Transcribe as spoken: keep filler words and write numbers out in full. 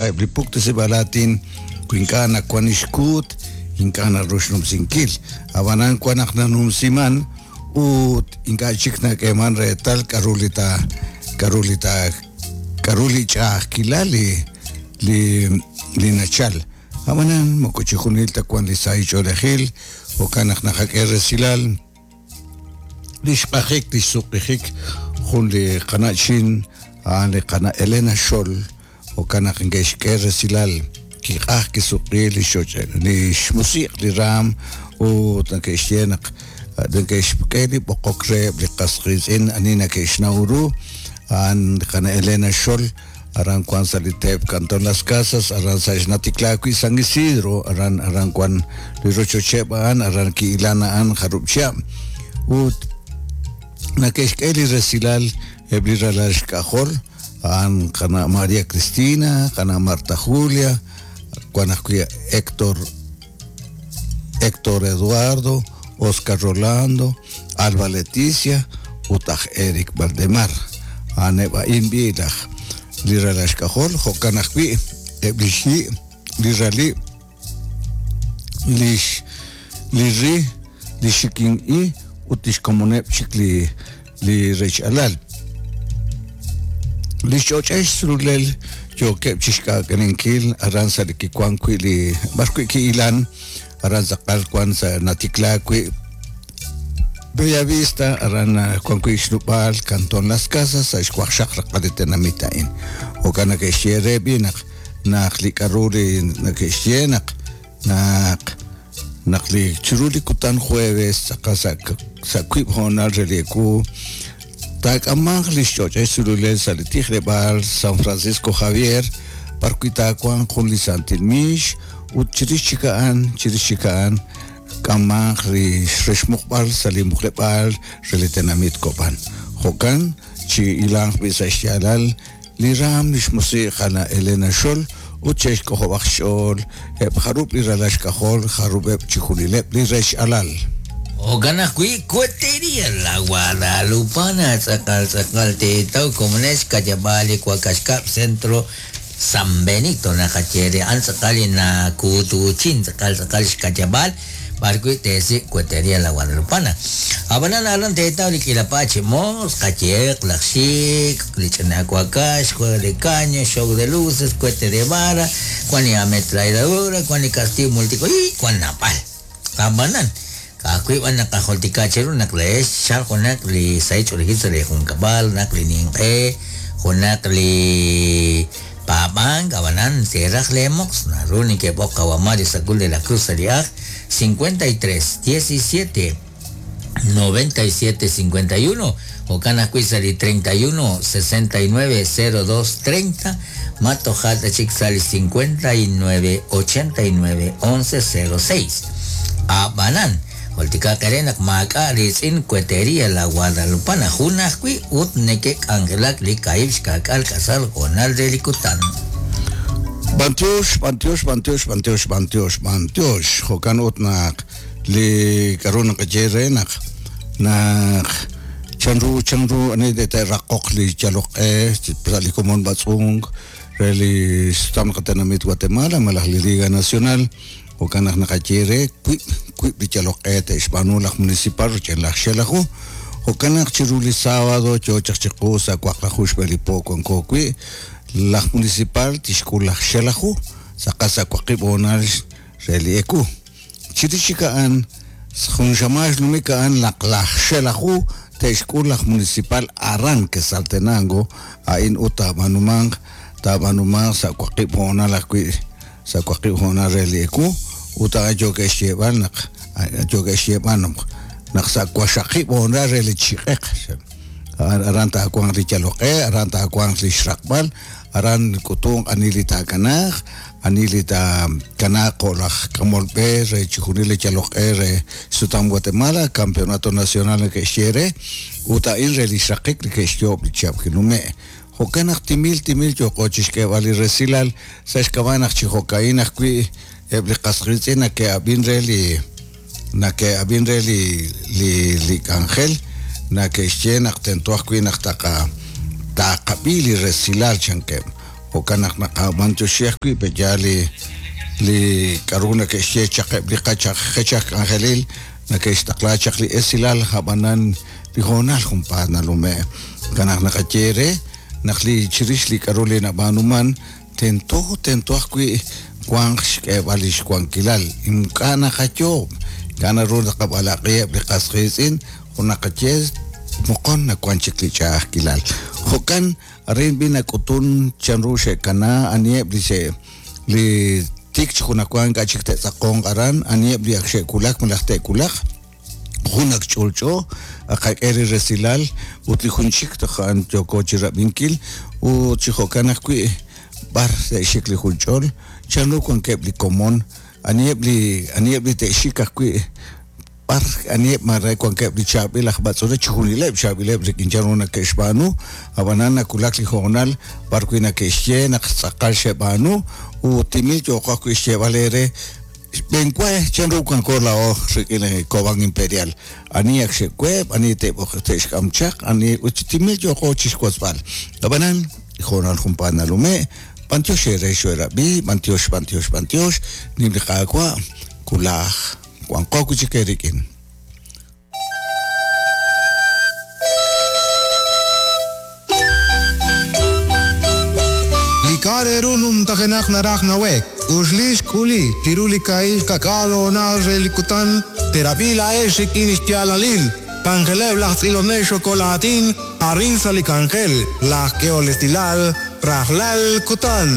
Sa'eb' li puktesib'aal aatin wi ink'a' nawan ixkuut ink'a' naru xnumsinkil ab'anan wan naq nanumsiman ut ink'a' chik nak'eeman reetal k'a'ru li ta k'a'ru li ta k'a'ru li ch'a'ajkilal li li li nachal ab'anan moko chi junil ta wan li sahil ch'oolejil jo'kan naq naqak'e resilal li xq'ajik li xsuq'ijik jun li qana'chin a'an li qana' Elena Xol jo'kan naq nke'xk'e resilal kiq'aj kisuq'i li xoch' li xmusiq' li raam ut nake'xye naq neke'xk'e li b'oqok reheb' li qas qiitz'in ani nake'xnaw ru a'an li qana' Elena Xol aran wan sa' li teep Cantón Las Casas aran sa' xnatiklaa wi' San Isidro aran aran wan li rochocheb' a'an aran ki'ilan a'an jarub' chihab' ut nake'xk'e li resilal eb' li ralal xk'ajol a'an qana' María Cristina qana' Marta Julia wan ajwi' Héctor Héctor Eduardo Oscar Rolando Alba Leticia ut aj Eric Valdemar a'aneb' a'in b'i laj li ralal xk'ajol jo'kan ajwi' eb' li xyi' li rali lix li ri li xikin i ut lix komoneb' chik li li rech alal li xch'och'ex xsululel yookeb' chixk'aak'alenkil aran sa' li kiwan wi' li b'ar wi' ki'ilan aran tz'aqal wan sa' natiklaa wi' Bellavista aran wan wi' xnub'aal Cantón Las Casas sa' xwaqxaq raqal li tenamit a'in jo'kan nake'xye re b'i naq naq li k'a'ru li nake'xye naq naq naq li chiru li kutan jueves tz'aqal sa' sa' wiib' hoonal re li ewu taak'amanq li xch'och'ex sululel sa' li tijleb'aal San Francisco Javier b'ar wi' taawanq jun li santil miix ut chirix chik a'an chirix chik a'an k'amanq li rexmuqb'al sa' li muqleb'aal re li tenamit Cobán jo'kan chi ilanq b'i sa' xyaalal li raam li xmusiq qana' Elena Xol ut che'xk'ojob'aq xch'ool eb' jarub' li ralal xk'ajol jarub'eb' chi junileb' li rech alal. Jo'kan ajwi' Cuetería La Guadalupana tz'aqal tz'aqal teetaw komonex kayab'aal li Wak'axkab' Centro San Benito naqaye a'an tz'aqal li nakuutuchin tz'aqal tz'aqal xkayab'aal b'ar wi' teesik' Cuetería La Guadalupana. Ab'anan aran teetaw li k'ilapa chi moos, qayeq, laj xik', li ch'ina wakax, juego de caña, show de luces, cohete de vara, wan li ametralladora, wan li castillo multicolor, wan napal. Ab'anan ka'ajwi' b'an naqajultika cheru naq leex xchal junaq li sahil ch'oolejil sa' li junkab'al, naq li ninq'e, junaq li paab'ank, ab'anan teeraj leemoqs, naru neke'b'oq qawa Mario Sacul de la Cruz sa' li aj cincuenta y tres, diecisiete, noventa y siete, cincuenta y uno, jo'kan ajwi' sa' li treinta y uno, sesenta y nueve, cero dos, treinta, matojat chik sa' li cincuenta y nueve, ochenta y nueve, once, cero seis. Ab'anan, jultika qere naq maak'a' riitz'in Cuetería La Guadalupana, jun ajwi' ut neke'k'anjelak li kaib' xka'k'al k'asal jonal re li kutan. Bantiox, bantiox, bantiox, bantiox, bantiox, bantiox. Jo'kan ut naq li k'a'ru naqaye re naq naq chanru chanru ani de te'raqoq li yaloq'e sa' li komon b'atz'unk re li xsutam qatenamit Guatemala malaj li Liga Nacional jo'kan naq naqaye re wiib' wiib' li yaloq'e te'xb'aanu laj municipal roch'en laj Xelaju jo'kan naq chiru li sábado yo chaq chiqu sa' waqlaju xb'e li po wanko wi' laj municipal tixk'ul laj Xelaju tz'aqal sa' waqib' hoonal re li eku chirix chik a'an jun xamax numik a'an laq laj Xelaju te'xk'ul laj municipal aran Quetzaltenango a'in ut taab'anumanq taab'anumanq sa' waqib' hoonal ajwi' sa' waqib' hoonal re li eku ut a'an yo'ke'xyeeb'al naq yo'ke'xyeeb'al naq naq sa' waxaqib' hoonal re li chiq'eq aran taawanq li yaloq'e aran taawanq li xraqb'al aran k'utunq ani li taakanaaq ani li taakanaaq jo' laj k'amol b'e re chi junil li yaloq'e re sutam Guatemala Campeonato Nacional neke'xye re ut a'in re li xraqik li ke'xyoob' li chihab' kinume' jo'kan naq timil timil yooqo chixk'eeb'al li resilal sa' xk'ab'a' naq chi jo'ka'in ajwi' eb' li qas qiitz'in nake'ab'in re li nake'ab'in re li li li k'anjel nake'xye naq tento ajwi' naq taqa taqab'i li resilal chankeb' Jo'kan naq naqab'antioxi ajwi' pe'yaal li li k'aru nake'xye chaq eb' li qachaq qechaj k'anjelil nake'xtaqla chaq li esilal ab'anan li hoonal junpaat nalume'. Jo'kan naq naqaye re naq li chirix li k'aru li nab'aanuman tento tento ajwi' wanq xk'eeb'al li xwankilal ink'a' naqayoob' ink'a' naru naqab'alaq'iheb' li qas qiitz'in jun naqaye moqon nawan chik li ch'a'ajkilal. Jo'kan arin b'i nak'utun chanru xe'kana aniheb' li xe' li tik chi junajwa ink'a' chik te'tz'aqonq aran aniheb' li ak xe'wulak malaj te'wulaq jun ak ch'olch'o aqak'e li resilal ut li jun chik toj a'an yooko chirab'inkil ut chi jo'kan ajwi' b'ar te'xik li junch'ol chanru wankeb' li komon aniheb' li aniheb' li te'xik ajwi' b'ar aniheb' mare wankeb' li chaab'il aj b'atz'une chijunileb' chaab'ileb' rik'in chanru nake'xb'aanu ab'anan nawulak li hoonal b'ar wi' nake'xye naq tz'aqal xe'b'aanu ut timil yooqo ajwi' xyeeb'al eere xb'eenwa chanru wanko laa'o rik'in Cobán Imperial ani ak xe'weeb' ani te'b'oq te'xk'am chaq ani ut chi timil yooqo chixwotzb'al ab'anan hoonal junpaat nalume' b'antiox eere xoerab'i b'antiox b'antiox b'antiox nim li Qaawa' kulaj wanqo wi' chik eerik'in. Li k'aru numtajenaq naraj nawek uxlix k'uli chiru li ka'il kak'al hoonal re li kutan terab'i laa'ex rik'in xyaalalil k'anjeleb' laj tz'ilonel xokolatin arin sa' li k'anjel laj k'ehol esilal rajlal kutan.